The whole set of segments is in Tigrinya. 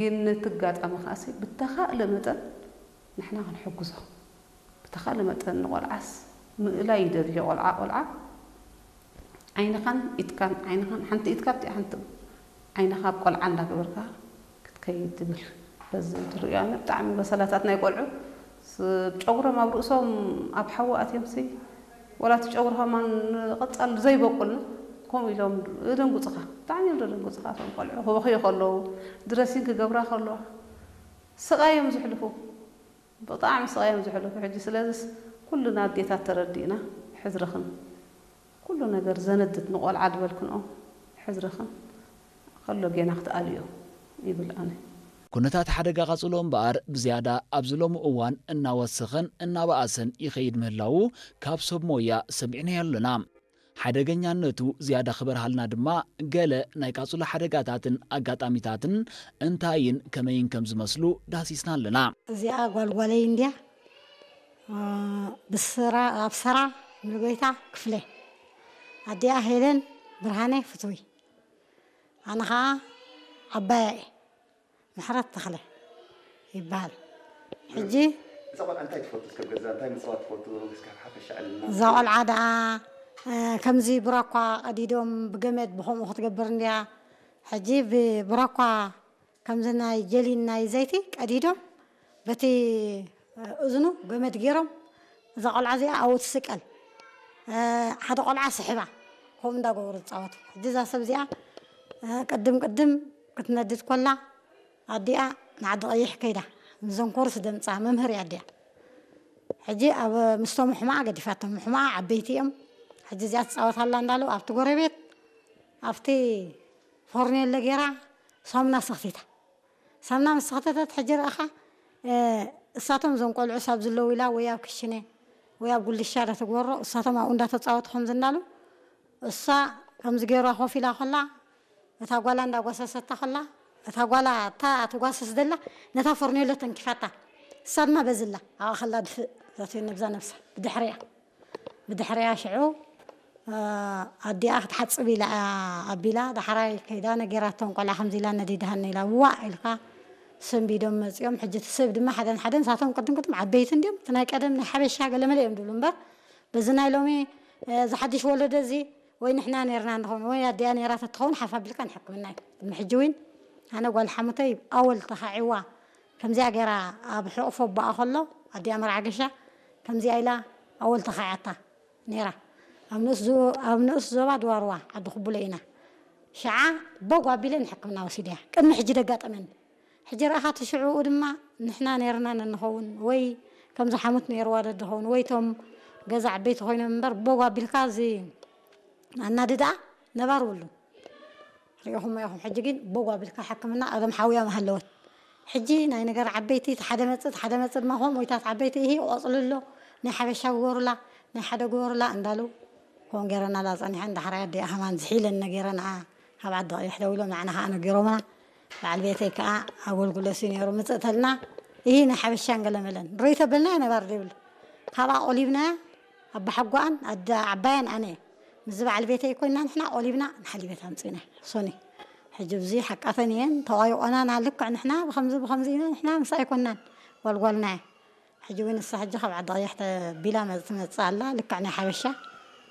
ግን ነቲ ኣጋጣሚ ከኣሲ ብተኻእለ መጠን ንሕና ክንሕግዞ፣ ብተኻእለ መጠን ንቆልዓስ ምእላይ ይደሊ። ቆልዓ ቆልዓ ዓይንኻን ኢድካን ዓይንኻን ሓንቲ ኢድካ ኣብቲ ሓንቲ ዓይንኻ ኣብ ቆልዓ እንዳገበርካ ክትከይድ ትብል። በዚ ትርእዮ ኣነ ብጣዕሚ በሰላታት ናይ ቆልዑ ስ- ጨጉሮም ኣብ ርእሶም ኣብ ሓዊ ኣትዮም ሲ ወላ እቲ ጨጉሪ ከማን ንቐጻል ዘይበቁልና ከምኡ ኢሎም ደንጉጽኻ፣ ብጣዕሚ እዮም ደንጉጽኻ። እቶም ቆልዑ ክበኽዩ ከለዉ ድረሲን ክገብራ ከለዋ ስቓይ እዮም ዝሕልፉ፣ ብጣዕሚ ስቓይ እዮም ዝሕልፉ። ሕጂ ስለዚስ ኩልና ኣዴታት ተረዲእና ሕዝርኽን ኩሉ ነገር ዘነድድ ንቆልዓ ዝበልክንኦ ሕዝርኽን ከሎ ጌና ክትኣልዮ ይብል ኣነ። ኩነታት ሓደጋ ቃጽሎ እምበኣር ብዝያዳ ኣብዚ ሎሚ እዋን እናወሰኸን እናበኣሰን ይኸይድ ምህላዉ ካብ ሰብ ሞያ ሰሚዕናዮ ኣለና። ሓደገኛነቱ ዝያዳ ክበርሃልና ድማ ገለ ናይ ቃጽሎ ሓደጋታትን ኣጋጣሚታትን እንታይን ከመይን ከም ዝመስሉ ዳህሲስና ኣለና። እዚኣ ጓልጓለይ እንድያ። እ፣ ብስራ ኣብ ሰራ ምልጎይታ ክፍለ፣ ኣዲኣ ሄለን ብርሃነ ፍትዊ፣ ኣነ ኸዓ ዓባያ እየ። ምሕረት ተኽለ ይበሃል። ሕጂ እዛ ቆልዓ እንታይ ትፈቱ? እስከ ገዛ እንታይ ምፅዋት ትፈቱ? እስከ ሓፈሻ ዕልና እዛ ቆልዓ ደኣ፣ እ፣ ከምዚ ብራኳ ቀዲዶም ብገመድ ብኸምኡ ክትገብር እንድያ። ሕጂ ብብራኳ ከምዚ ናይ ጀሊን ናይ ዘይቲ ቀዲዶም በቲ እዝኑ ገመድ ገይሮም እዛ ቆልዓ እዚኣ ኣብኡ ትስቀል። እ፣ ሓደ ቆልዓ ስሕባ ከምኡ እንዳገበሩ ዝፃወቱ። ሕጂ እዛ ሰብ እዚኣ፣ እ፣ ቅድም ቅድም ክትነድድ ኮላ ኣዲኣ ንዓዲ ቀይሕ ከይዳ ምስ ዘንኮርስ ደምፃ መምህር እያ ኣዲኣ። ሕጂ ኣብ ምስቶም ሕማኣ ገዲፋቶም፣ ሕማኣ ዓበይቲ እዮም። ሕጂ እዚኣ ትፃወት ኣላ እንዳሉ ኣብቲ ጎረቤት ኣብቲ ፎርኔሎ ገይራ ሳሙና ሰኽቲታ። ሳሙና ምስ ሰኽተተት ሕጂ ረኣኻ፣ እ፣ እሳቶም እዞም ቆልዑ ሳብ ዝለዉ ኢላ ወይ ኣብ ክሽነ ወይ ኣብ ጉልሻ ዳ ትግበሮ፣ እሳቶም ኣብኡ እንዳተፃወቱ ከምዚ እንዳሉ እሳ ከምዚ ገይራ ኮፍ ኢላ ከላ እታ ጓላ እንዳጓሰሰታ ከላ እታ ጓላ እታ ትጓስስ ደላ ነታ ፎርኔሎ ተንኪፋታ። እሳ ድማ በዝላ ኣብኣ ከላ ድፍእ ዛትዮ ነብዛ ነብሳ ብድሕሪያ ብድሕሪያ ሽዑ፣ እ፣ ኣዲኣ ክትሓጽብ ኢላ እያ ኣቢላ፣ ዳሕራይ ከይዳ ነጊራቶም፣ ቆልዓ ከምዚ ኢላ ነዲድሃኒ ኢላ፣ ዋእ ኢልካ ሰንቢዶም መጺኦም። ሕጂ እቲ ሰብ ድማ ሓደን ሓደን፣ ንሳቶም ቅድም ቅድም ዓበይቲ እንድዮም፣ እቲ ናይ ቀደም ናይ ሓበሻ ገለመለ እዮም ዝብሉ እምበር፣ በዚ ናይ ሎሚ፣ እ፣ እዚ ሓድሽ ወለዶ እዚ ወይ ንሕና ነርና ንኸውን ወይ ኣዲኣ ነራ ተትኸውን ሓፍ ኣቢልካ ንሕክምና እዩ። ቅድሚ ሕጂ እውን ኣነ ጓል ሓሙተይ ኣወል ተኻዒዋ ከምዚኣ ገይራ ኣብ ሕቑፎ ኣቦኣ ከሎ ኣዲኣ መርዓ ገሻ ከምዚኣ ኢላ ኣወል ተኻዒዓታ ነይራ። ኣብ ንኡስ ዞ-፣ ኣብ ንኡስ ዞባ ድዋርዋ ዓዲ ኩቡለ ኢና። ሽዓ በጉ ኣቢለ ንሕክምና ወሲደያ። ቅድሚ ሕጂ ደጋጠመኒ። ሕጂ ረኣኻ እቲ ሽዕኡ ድማ ንሕና ነይርና ነንኸውን ወይ ከምዚ ሓሙት ነይርዋ ደድኸውን ወይ እቶም ገዛ ዓበይቲ ኮይኖም እምበር በጉ ኣቢልካ እዚ ኣናድዳ ነባር ብሉ። ሪኢኹሞ ኢኹም። ሕጂ ግን በጉ ኣቢልካ ሕክምና ቀደም ሓውያ ምሃለወት። ሕጂ ናይ ነገር ዓበይቲ እቲ ሓደ መጽእ፣ እቲ ሓደ መጽእ ድማ ከምኡ ኢታት ዓበይቲ ኢሂ ቆጽሊ ኣሎ፣ ናይ ሓበሻ ግበሩላ፣ ናይ ሓደ ግበሩላ እንዳሉ ከምኡ ገይረናላ ጸኒሐን። ዳሕራይ ኣዲኣ ከማን ዝሒለን ነጊረንኣ ካብ ዓዲ ቀይሕ ደዊሎም ንዓና ከኣ ነጊሮምና። በዓል ቤተይ ከኣ ኣገልግሎት እዩ ነይሩ። ምጽእ ተልና፣ ኢሂ ናይ ሓበሻን ገለመለን። ርኢቶ በልናዮ ነባር ዘይብሉ። ካብኣ ቆሊብናያ፣ ኣባሓጓኣን ኣደ ዓባያን ኣነ። ምስዚ በዓል ቤተይ ኮይና ንሕና ቆሊብና ንሓሊበት ኣምጺእና። ሶኒ። ሕጂ ብዚ ሓቃተን እየን፣ ተዋይቆናና ልክዕ ንሕና ብኸምዚ ብኸምዚ ኢና ንሕና ምስ ኣይኮናን። ጓልጓልና እያ። ሕጂ እውን ንሳ ሕጂ ካብ ዓዲ ቀይሕ ተቢላ መ-፣ ትመጽእ ኣላ። ልክዕ ናይ ሓበሻ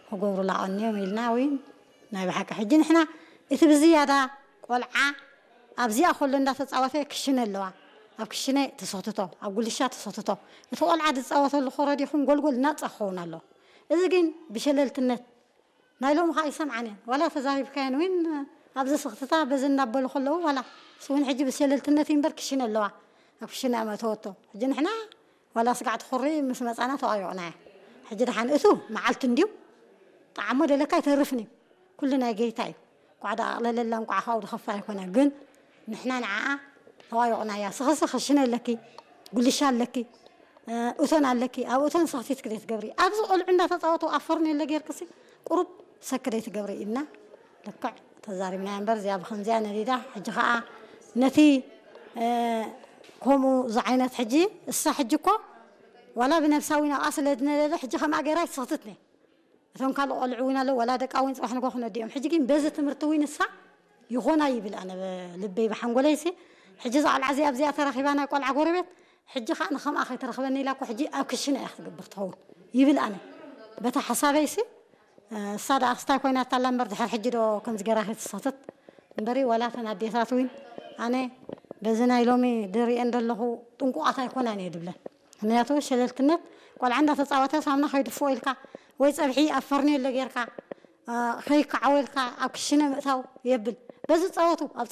ክገብሩላ ቀንዮም ኢልና እውን ናይ ብሓቂ ሕጂ ንሕና እቲ ብዝያዳ ቆልዓ ኣብዚኣ ከሎ እንዳተጻወተ ክሽነ ኣለዋ። ኣብ ክሽነ ተሰክትቶ፣ ኣብ ጉልሻ ተሰክትቶ። እቲ ቆልዓ ዝጻወተሉ ኮረዲኹም ጎልጎል ናጻ ክኸውን ኣለዎ። እዚ ግን ብሸለልትነት ናይ ሎሚ ኸኣ ይሰምዓን እየን። ዋላ ተዛሪብካየን እውን ኣብዚ ስኽትታ በዚ እናበሉ ከለዉ ዋላ እሱ እውን ሕጂ ብሸለልትነት እዩ እምበር ክሽነ ኣለዋ። ኣብ ክሽነ እያ መእተወቶ። ሕጂ ንሕና ዋላ ስጋዕ ትኹሪ ምስ መጻና ተዋዮቕና እያ። ሕጂ ደሓን እቱ መዓልቲ እንድዩ ጣዕሞ ደለካ ኣይተርፍን እዩ። ኩሉ ናይ ጌታ እዩ። እንቋዕ ደኣ ኣቕለለላ፣ እንቋዕ ካብኡ ዝኸፍእ ኣይኮነ። ግን ንሕና ንዓኣ ተዋዮቕናያ። ስኽሲ ክሽነ ኣለኪ፣ ጉልሻ ኣለኪ፣ እ፣ እቶን ኣለኪ። ኣብ እቶን ሰኽቲት ክደይ ትገብሪ። ኣብዚ ቆልዑ እንዳተጻወቱ ኣብ ፈርኔሎ ጌርክሲ ቁሩብ ሰክ ደይ ትገብሪ ኢልና ልክዕ ተዛሪብናያ እምበር እዚኣ ብኸምዚኣ ነዲዳ። ሕጂ ኸኣ ነቲ፣ እ፣ ከምኡ ዝዓይነት ሕጂ እሳ ሕጂ እኮ ዋላ ብነብሳ ዊን ኣብኣ ስለ ዝነደደ ሕጂ ከምኣ ገይራ ኣይትሰኽትት ነይ። እቶም ካልእ ቆልዑ እውን ኣለዉ፣ ዋላ ደቃ እውን ጽባሕ ንግሆ ክነድኦም። ሕጂ ግን በዚ ትምህርቲ እውን ንሳ ይኾና ይብል ኣነ ብ-፣ ልበይ ብሓንጎለይሲ ሕጂ እዛ ቆልዓ እዚኣ ኣብዚኣ ተረኺባ ናይ ቆልዓ ጎረቤት፣ ሕጂ ከዓ ንከምኣ ከይተረኽበኒ ኢላ እኮ ሕጂ ኣብ ክሽነ እያ ክትገብር ትኸውን ይብል። ኣነ በታ ሓሳበይሲ እሳ ደኣ ክስታይ ኮይና ታላ እምበር ድሕር ሕጂ ዶ ከምዚ ገራ ክትሳተት እምበሪ ዋላ ተን ኣዴታት እውን ኣነ በዚ ናይ ሎሚ ድሪኤን ዘለኹ ጥንቁቓት ኣይኮናን እየ ድብለን። ምክንያቱ ሸለልትነት ቆልዓ እንዳተፃወተ ሳምና ከይድፍኦ ኢልካ ወይ ፀብሒ ኣብ ፈርኔሎ ጌርካ ከይከዓወ ኢልካ ኣብ ክሽነ ምእታው የብል። በዚ ፃወቱ ኣብ